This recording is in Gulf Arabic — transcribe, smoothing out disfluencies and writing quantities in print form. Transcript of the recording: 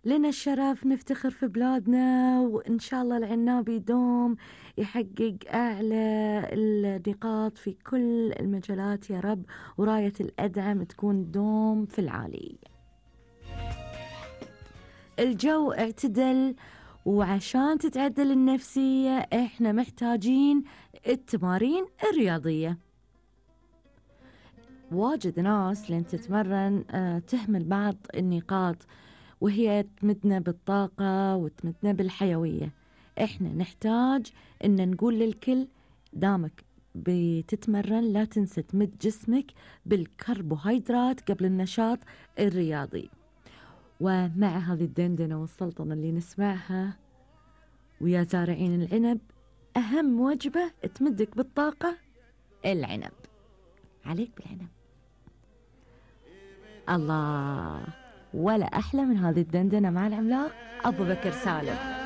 لنا الشرف نفتخر في بلادنا، وإن شاء الله العناب يدوم يحقق أعلى النقاط في كل المجالات يا رب، وراية الأدعم تكون دوم في العالي. الجو اعتدل، وعشان تتعدل النفسية احنا محتاجين التمارين الرياضية. واجد ناس لين تتمرن تهمل بعض النقاط، وهي تمدنا بالطاقة وتمدنا بالحيوية. احنا نحتاج ان نقول للكل دامك بتتمرن لا تنسى تمد جسمك بالكربوهيدرات قبل النشاط الرياضي. ومع هذه الدندنة والسلطنة اللي نسمعها ويا زارعين العنب، أهم وجبة تمدك بالطاقة العنب. عليك بالعنب. الله، ولا أحلى من هذه الدندنة مع العملاق أبو بكر سالم.